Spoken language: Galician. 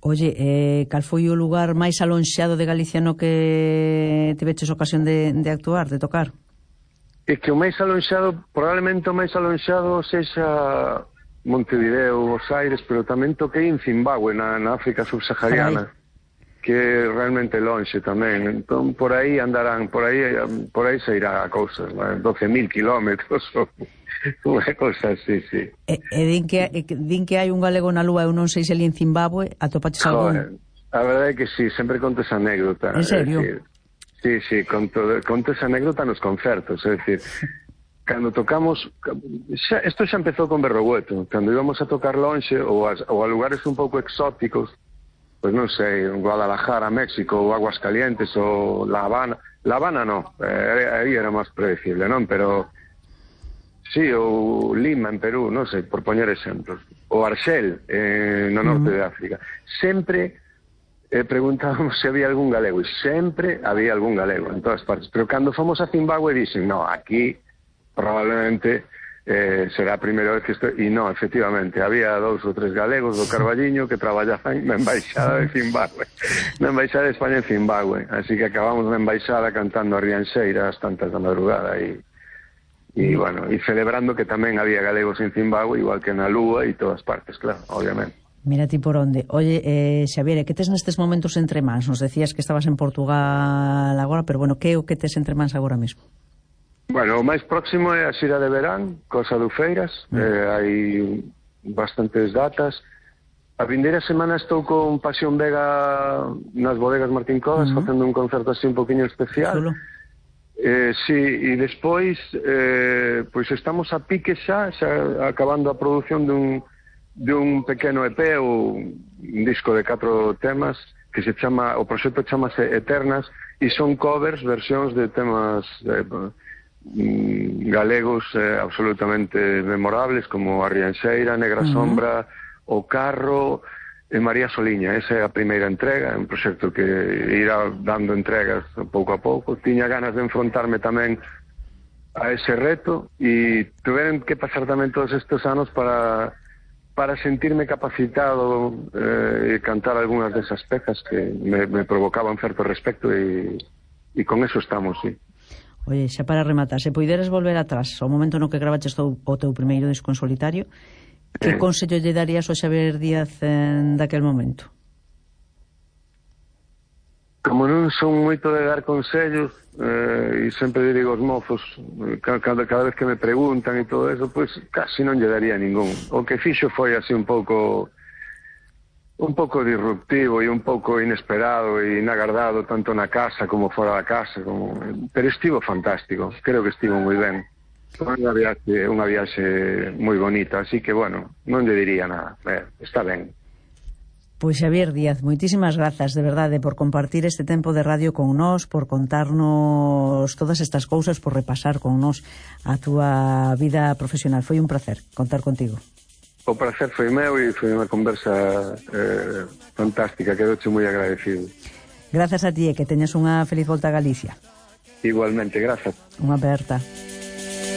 Oye, cal foi o lugar máis alonxado de Galicia no que tiveches ocasión de actuar, de tocar? É que o máis alonxado, probablemente o máis alonxado sexa Montevideo, Buenos Aires, pero tamén toquei en Zimbabue, na África subsahariana, que é realmente lonxe tamén. Entón, por aí andarán, por aí se irá a cousas, 12.000 kilómetros, unha cousa así, sí. Din que hai un galego na lúa, eu non sei se ali en Zimbabue, atopaches algún? A verdade é que sí, sempre conto esa anécdota. En serio? Sí, conto esa anécdota nos concertos, é dicir, cando tocamos, isto xa empezou con Berrogueto, cando íbamos a tocar lonxe ou a lugares un pouco exóticos, pois non sei, Guadalajara, México, ou Aguascalientes, ou La Habana non, aí era máis predecible, non? Pero sí, ou Lima en Perú, non sei, por poñer exemplos, ou Arxel, no norte de África, sempre preguntábamos se había algún galego, e sempre había algún galego en todas partes, pero cando fomos a Zimbabue dixen, no, aquí probablemente será a primeira vez que estou, e non, efectivamente, había 2 ou 3 galegos do Carballiño que traballaban na embaixada de Zimbabue, na embaixada de España en Zimbabue, así que acabamos na embaixada cantando a Rianxeira ás tantas da madrugada e bueno, e celebrando que tamén había galegos en Zimbabue, igual que na Lúa e todas partes, claro, obviamente. Mira ti por onde. Oye, Xavier, que tes nestes momentos entre mans? Nos decías que estabas en Portugal agora, pero bueno, que é o que tes entre mans agora mesmo? Bueno, o máis próximo é a xira de verán, Cosa do Feiras, hai bastantes datas. A vindeira semana estou con Pasión Vega nas bodegas Martín Codas, facendo un concerto así un poquinho especial. Chulo. Sí, e despois pois estamos a pique xa acabando a produción dun pequeno EP ou un disco de 4 temas que se chama, o proxecto chamase Eternas, e son covers, versións de temas galegos absolutamente memorables, como a Rianxeira, Negra Sombra, O Carro e María Soliña. Esa é a primeira entrega, é un proxecto que irá dando entregas pouco a pouco. Tiña ganas de enfrontarme tamén a ese reto e tuveron que pasar tamén todos estes anos para sentirme capacitado e cantar algunhas desas pezas que me provocaban certo respecto e con eso estamos, sí. Oye, xa para rematar, se poideres volver atrás ao momento no que gravaches o teu primeiro disco en solitario, que consello lle darías ao Xavier Díaz daquel momento? Como non son moito de dar consellos, e sempre digo aos mozos, cada vez que me preguntan e todo eso, pois casi non lle daría ningún. O que fixo foi así un pouco disruptivo e un pouco inesperado e inagardado, tanto na casa como fora da casa, pero estivo fantástico, creo que estivo moi ben. Foi unha viaxe moi bonita, así que, bueno, non lle diría nada, está ben. Pois Xavier Díaz, moitísimas grazas, de verdade, por compartir este tempo de radio con nós, por contarnos todas estas cousas, por repasar con nós a túa vida profesional. Foi un placer contar contigo. O placer foi meu e foi unha conversa fantástica, quedoche moi agradecido. Grazas a ti e que teñas unha feliz volta a Galicia. Igualmente, grazas. Unha aperta.